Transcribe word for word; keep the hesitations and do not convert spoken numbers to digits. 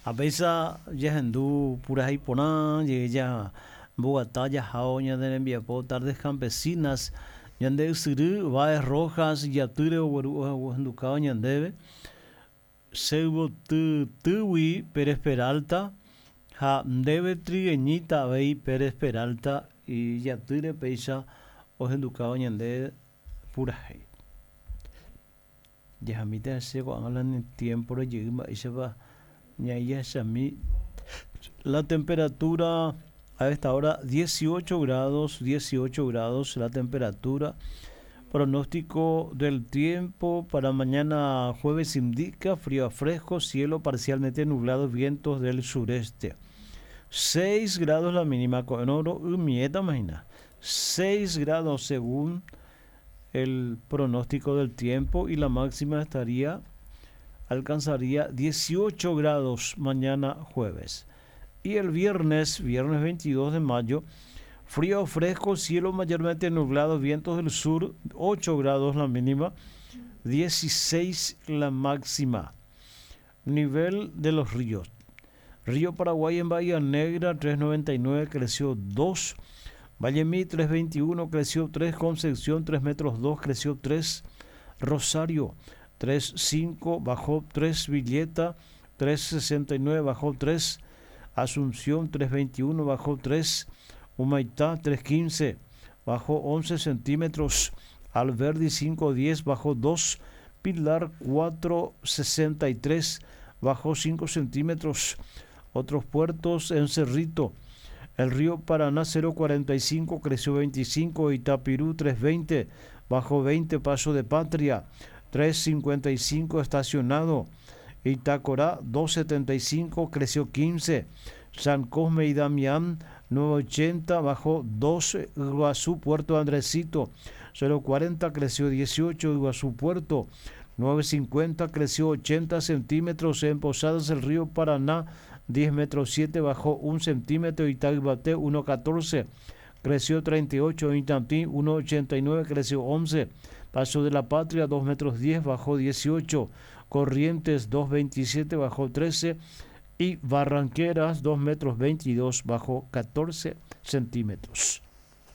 Apéicha jahendu purahéi porã jeheja mboguata jahao ñane rembiapo Tardes Campesinas ñande ysyry Báez Rojas ijatýre ogueru ohendukáva ñandéve Seyvotytýgui Pérez Peralta ha ndéve trigueñita avei Pérez Peralta ijatýre péicha ohendukáva ñande purahéi. Jahamíta hese ko'ág̃a la tiempo rejey mba'éichapa ñaijahechami la temperatura a esta hora dieciocho grados, dieciocho grados la temperatura. Pronóstico del tiempo para mañana jueves indica frío a fresco, cielo parcialmente nublado, vientos del sureste. seis grados la mínima con oro y imagina. seis grados según el pronóstico del tiempo y la máxima estaría alcanzaría dieciocho grados mañana jueves. Y el viernes, viernes veintidós de mayo, frío fresco, cielo mayormente nublado, vientos del sur, ocho grados la mínima, dieciséis la máxima. Nivel de los ríos. Río Paraguay en Bahía Negra, tres noventa y nueve, creció dos. Vallemí, tres veintiuno, creció tres. Concepción, tres metros dos, creció tres. Rosario, tres cinco, bajó tres. Villeta, tres sesenta y nueve, bajó tres. Asunción, tres veintiuno, bajó tres. Humaitá, tres quince, bajó once centímetros. Alberdi, cinco diez, bajó dos. Pilar, cuatro sesenta y tres, bajó cinco centímetros. Otros puertos en Cerrito, el río Paraná, cero cuarenta y cinco, creció veinticinco. Itapirú, tres veinte, bajó veinte. Paso de Patria, tres cincuenta y cinco, estacionado. Itacorá, dos setenta y cinco, creció quince. San Cosme y Damián, nueve ochenta, bajó dos. Iguazú, Puerto Andresito, cero cuarenta, creció dieciocho. Iguazú, Puerto, nueve cincuenta, creció ochenta centímetros. En Posadas, el río Paraná, diez metros siete, bajó un centímetro. Itaguate, uno catorce, creció treinta y ocho. Itatí, uno ochenta y nueve, creció once. Paso de la Patria, dos metros diez, bajó dieciocho. Corrientes, dos veintisiete, bajó trece. Y Barranqueras, dos metros veintidós, bajó catorce centímetros.